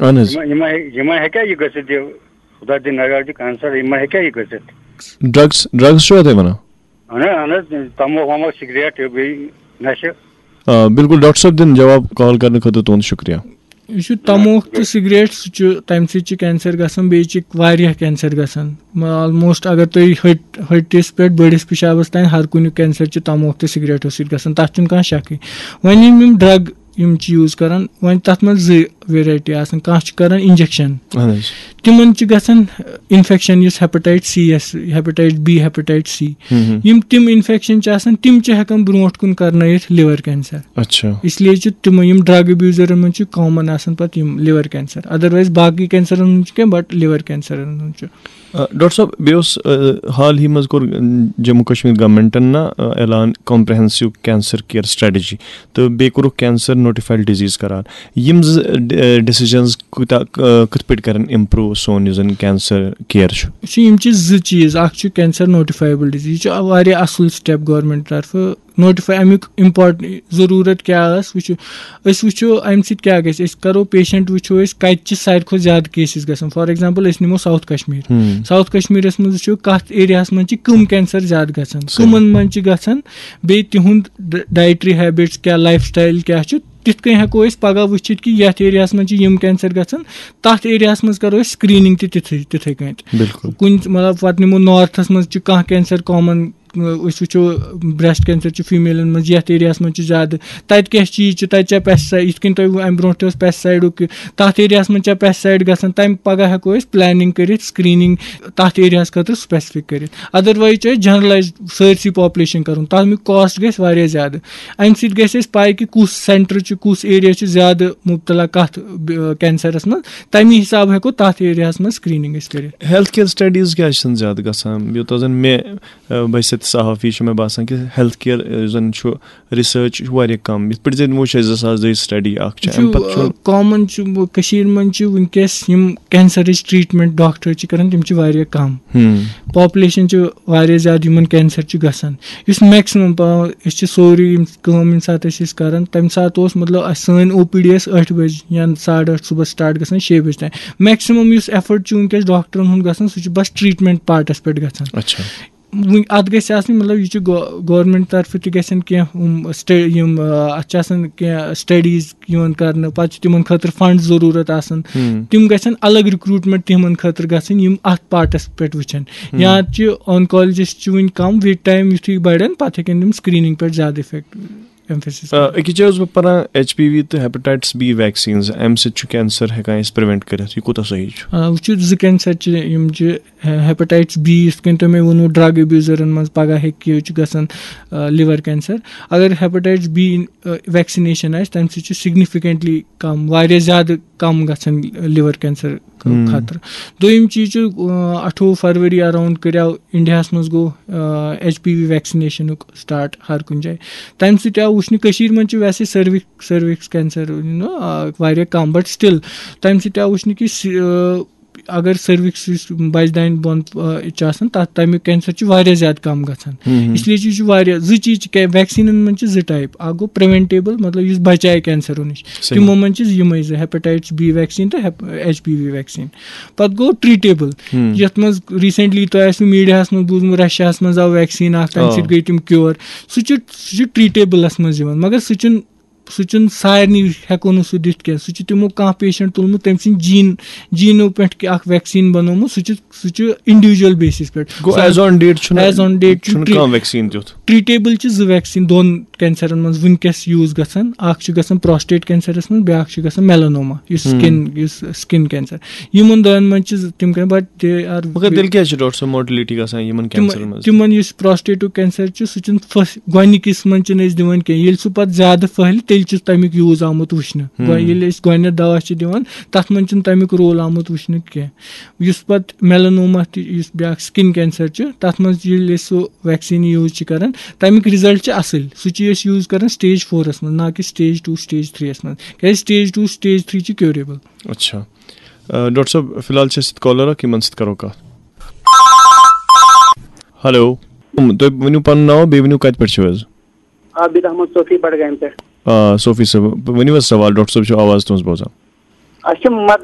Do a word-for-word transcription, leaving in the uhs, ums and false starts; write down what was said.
اہن حظ۔ یِمن یِمن ہیٚکیٛاہ یہِ گٔژھِتھ، یہِ خۄدا دِنۍ نگار چھُ کینسر، یِمن ہیٚکیٛاہ یہِ گٔژھِتھ؟ ڈرگس ڈرگس چھُوا تُہۍ وَنان؟ اہن حظ، اہن حظ، تموک وموک، سگریٹ، یہِ بیٚیہِ نشہٕ۔ آ، بِلکُل، ڈاکٹر صٲب دِن جواب کال کرنہٕ خٲطرٕ تُہُنٛد شُکریہ۔ یُس یہِ تموک تہٕ سگریٹ، سُہ چھُ، تمہِ سۭتۍ چھِ کینسر گژھان، بیٚیہِ چھِ واریاہ کینسر گژھان۔ آلموسٹ اگر تُہۍ ہٹ ہٹِس پٮ۪ٹھ بٔڑِس پِشابس تام، ہر کُنیُک کینسر چھُ تموک تہٕ سگریٹو سۭتۍ گژھان، تتھ چھُنہٕ کانٛہہ شکٕے۔ وۄنۍ یِم یِم ڈرگ یِم چھِ یوٗز کران، وۄنۍ تتھ منٛز زٕ ویرایٹی آسان، کانٛہہ چھُ کران انجیکشن، اہن حظ۔ تِمن چھِ گژھان انفیکشن، یُس ہیپاٹائٹ سی یس، ہیپاٹائٹ بی، ہیپاٹائٹ سی، ہم۔ یِم تِم انفیکشن چھِ آسان، تِم چھِ ہٮ۪کان برونٛٹھ کُن کرنٲیِتھ لِور کینسر۔ اچھا۔ اس لیے چھِ تِم، یِم ڈرگ ابیوزرن منٛز چھِ کامن آسان پتہٕ یِم لِور کینسر، ادروائز باقٕے کینسرن منٛز چھُ کینٛہہ، بٹ لِور کینسرن منٛز چھُ۔ آ، ڈاکٹر صٲب، بیٚیہِ اوس، آ، حال ہی منٛز کوٚر، آ، جموں کشمیر گورنمنٹن نا، آ، اعلان کمپریہنسو کینسر کیئر سٹریٹجی، تہٕ بیٚیہِ کوٚرُکھ کینسر نوٹیفائیڈ ڈیزیز قرار۔ یِم زٕ، آ، ڈیسیجنز کوٗتاہ، آ، کِتھ پٲٹھۍ کرن امپروو سون یُس زن کینسر کیئر چھُ؟ وٕچھِو، یِم چھِ زٕ چیٖز، اکھ چھُ کینسر نوٹیفایبل ڈیزیز، یہِ چھُ واریاہ اصل سٹیپ گورنمنٹ طرفہٕ۔ نوٹیفائی امیُک امپارٹ ضروٗرت کیٛاہ ٲس، وٕچھِو، أسۍ وٕچھو امہِ سۭتۍ کیٛاہ گژھِ، أسۍ کرو پیشنٹ، وٕچھو أسۍ کتہِ چھِ ساروی کھۄتہٕ زیادٕ کیسز گژھان۔ فار ایگزامپل، أسۍ نِمو ساوتھ کشمیر۔ ہم۔ ساوتھ کشمیرس منٛز وٕچھو کتھ ایریاہس منٛز چھِ کم کینسر زیادٕ گژھان، صحیح۔ کمن منٛز چھِ گژھان، بیٚیہِ تِہُنٛد ڈ-، ڈائٹری ہیبٹس کیٛاہ، لائف سٹائل کیٛاہ چھُ، تِتھ کٔنۍ ہٮ۪کو أسۍ پگاہ وٕچھِتھ کہِ یتھ ایریاہس منٛز چھِ یِم کینسر گژھان، تتھ ایریاہس منٛز کرو أسۍ سکریننگ تہِ تِتھٕے تِتھٕے کٔنۍ۔ بِلکُل۔ کُنہِ، مطلب، پتہٕ نِمو نارتھس منٛز چھِ کانٛہہ کینسر کامن، أسۍ وٕچھو بریسٹ کینسر چھُ فیمیلن منٛز، یتھ ایریاہس منٛز چھُ زیادٕ، تتہِ کیٛاہ چیٖز چھُ، تتہِ چھا پیسٹسائیڈ، یِتھ کٔنۍ تۄہہِ امہِ برونٛٹھ تہِ اوس پیسٹسائیڈُک، تتھ ایریاہس منٛز چھا پیسٹسائیڈ گژھان، تمہِ پگاہ ہٮ۪کو أسۍ پلاننگ کٔرِتھ، سکریننگ تتھ ایریاہس خٲطرٕ سپیسفک کٔرِتھ۔ ادروائز چھُ اسہِ جنرلائز سٲرسٕے پاپولیشن کرُن، تمیُک کاسٹ گژھِ واریاہ زیادٕ۔ امہِ سۭتۍ گژھِ اسہِ پاے کہِ کُس سینٹر چھُ، کُس ایریا چھُ زیادٕ مبتلا کتھ، ب-، کینسرس منٛز، تمی حساب ہٮ۪کو تتھ ایریاہس منٛز سکریننگ أسۍ کٔرِتھ۔ ہیلتھ کیئر سٹڈیز کیٛازِ چھِنہٕ زیادٕ گژھان؟ یوٗتاہ زن مےٚ، آ، بحیثیت صحافی چھُ مےٚ باسان کہِ ہیلتھ کیئر، آ، یُس زن چھُ، ریسرچ چھُ واریاہ کم۔ یِتھ پٲٹھۍ زن وٕچھ اسہِ زٕ ساس دۄیہِ سٹڈی اکھ چھِ، امہِ پتہٕ چھُ کامن چھُ، کٔشیٖر منٛز چھِ وٕنکیٚس یِم کینسرٕچ ٹریٹمنٹ ڈاکٹر چھِ کران، تِم چھِ واریاہ کم۔ ہم۔ پاپولیشن چھِ واریاہ زیادٕ یِمن کینسر چھُ گژھان۔ یُس میکسِمم پا-، أسۍ چھِ سورُے یِم کٲم ییٚمہِ ساتہٕ أسۍ ٲسۍ کران، تَمہِ ساتہٕ اوس، مطلب، اَسہِ، سٲنۍ او پی ڈی ٲس ٲٹھِ بجہِ یا ساڑٕ ٲٹھ صُبحس سٹارٹ گژھان شیٚیہِ بجہِ تام۔ میکسِمم یُس ایفٲرٹ چھُ وٕنکیٚس ڈاکٹرن ہُنٛد گژھان، سُہ چھُ بس ٹریٹمنٹ پارٹس پٮ۪ٹھ گژھان۔ اچھا۔ وٕنۍ اَتھ گژھِ آسٕنۍ، مطلب، یہِ چھُ گو-، گورنمنٹ طرفہٕ تہِ گژھن کینٛہہ یِم سٹے-، یِم، آ، اَتھ چھِ آسان کینٛہہ سٹڈیٖز یِوان کرنہٕ، پَتہٕ چھِ تِمن خٲطرٕ فنڈ ضروٗرت آسان۔ ہم۔ تِم گژھن الگ ریکروٹمنٹ تِمن خٲطرٕ گژھٕنۍ، یِم اَتھ پارٹس پٮ۪ٹھ وٕچھن۔ ہم۔ یا چھِ آنکالجسٹ چھِ وٕنہِ کم، وِد ٹایم یُتھُے بڑن، پَتہٕ ہٮ۪کن تِم سکریننگ پٮ۪ٹھ زیادٕ افیکٹ، ایمفیسس۔ آ، أکِس جایہِ اوسُس بہٕ پران، ایچ پی وی تہٕ ہیپاٹائٹس بی ویکسینز، امہِ سۭتۍ چھُ کینسر ہٮ۪کان أسۍ پریونٹ کٔرِتھ۔ یہِ کوٗتاہ صحیح چھُ؟ آ، وٕچھِو، زٕ کینسر چھِ، یِم چھِ، ہیپاٹائٹس بی، یِتھ کٔنۍ تۄہہِ مےٚ ووٚنوُ، ڈرگ ابیوزرن منٛز پگاہ ہیٚکہِ یہِ چھُ گژھان، آ، لِور کینسر۔ اگر ہیپاٹائٹس بی، آ، ویکسینیشن آسہِ، تَمہِ سۭتۍ چھُ سگنیفکینٹلی کم، واریاہ زیادٕ کم گژھان لِور کینسر خٲطرٕ۔ دوٚیِم چیٖز چھُ، آ، اَٹھووُہ فروری اراؤنڈ کریو انڈیاہس منٛز گوٚو، آ، ایچ پی وی ویکسینیشنُک سٹارٹ ہر کُنہِ جایہِ۔ تَمہِ سۭتۍ آو وٕچھنہٕ، کٔشیٖر منٛز چھِ ویسے سروکس، سروکس کینسر، یوٗ نو، آ، واریاہ کم، بٹ سٹل تَمہِ سۭتۍ آو وٕچھنہٕ کہِ س-، آ، اگر سروکس یُس بچہِ دانہِ بۄن، آ، چھُ آسان، تَتھ، تَمیُک کینسر چھُ واریاہ زیادٕ کم گژھان۔ اس لیے چھُ، یہِ چھُ واریاہ، زٕ چیٖز چھِ، ویکسینن منٛز چھِ زٕ ٹائپ، اکھ گوٚو پریونٹیبل، مطلب یُس بچایہِ کینسرو نِش، صحیح۔ تِمو منٛز چھِ یِمے زٕ، ہیپاٹائٹس بی ویکسین تہٕ ایچ پی وی ویکسین۔ پتہٕ گوٚو ٹریٹیبل، یتھ منٛز ریسنٹلی تۄہہِ آسِوُ میڈیاہس منٛز بوٗزمُت، رشیاہس منٛز آو ویکسین اکھ، تمہِ آ۔ سۭتۍ گٔے تِم کیور۔ سُہ چھُ، سُہ چھُ ٹریٹیبلس منٛز یِوان، مگر سُہ چھُنہٕ، سُہ چھُنہٕ سارنٕے ہٮ۪کو نہٕ سُہ دِتھ کینٛہہ۔ سُہ چھُ تِمو کانٛہہ پیشنٹ تُلمُت، تٔمۍ سٕنٛدۍ جین، جینو پٮ۪ٹھ کہِ اکھ ویکسین بنومُت، سُہ چھُ، سُہ چھُ انڈیویجل بیسس پٮ۪ٹھ۔ گوٚو، ایز آن ڈیٹ چھُنہٕ، ایز آن ڈیٹ چھُ چھُنہٕ ٹری-، کانٛہہ ویکسین تیُتھ۔ ٹریٹیبل چھِ زٕ ویکسین دۄن کینسرن منٛز وٕنکیٚس یوٗز گژھان۔ اکھ چھُ گژھان پراسٹیٹ کینسرس منٛز، بیٛاکھ چھُ گژھان میلانوما، یُس سکن، یُس سکن کینسر۔ یِمن دۄن منٛز چھِ زٕ، تِم کران، بٹ دے آر، مگر تیٚلہِ کیٛازِ چھِ ڈاکٹر صٲب موٹیلٹی گژھان یِمن کینسرن منٛز؟ تِمن یُس پراسٹیٹُک کینسر چھُ، سُہ چھُنہٕ فٔس-، گۄڈٕنِکِس منٛز چھِنہٕ أسۍ دِوان کینٛہہ۔ ییٚلہِ سُہ پتہٕ زیادٕ پھٔہلہِ، تیٚلہِ چھُ تَمیُک یوٗز آمُت وٕچھنہٕ۔ گۄ-، ییٚلہِ أسۍ گۄڈٕنٮ۪تھ دوا چھِ دِوان، تَتھ منٛز چھُنہٕ تَمیُک رول آمُت وٕچھنہٕ کینٛہہ۔ یُس پتہٕ میلانوما تہِ، یُس بیٛاکھ سکن کینسر چھُ، تَتھ منٛز ییٚلہِ أسۍ سُہ ویکسیٖن یوٗز چھِ کران، تَمیُک رِزلٹ چھِ اَصٕل۔ سُہ چھِ أسۍ یوٗز کران سٹیج فورس منٛز، نہ کہِ سٹیج ٹوٗ، سٹیج تھری یَس منٛز، کیازِ سٹیج ٹوٗ، سٹیج تھری چھِ کیوریبل۔ اچھا۔ آ، ڈاکٹر صٲب، فی الحال چھِ اَسہِ سۭتۍ کالر اکھ، یِمن سۭتۍ کرو کتھ۔ ہیلو۔ تُہۍ ؤنِو پنُن ناو، بیٚیہِ ؤنِو کتہِ پٮ۪ٹھ چھِو حظ؟ عابد احمد صوفی، بڈگامہِ پٮ۪ٹھ۔ آ، صوفی صٲب، ؤنِو حظ سوال، ڈاکٹر صٲب چھُ آواز تُہٕنٛز بوزان۔ اَسہِ چھِ مدر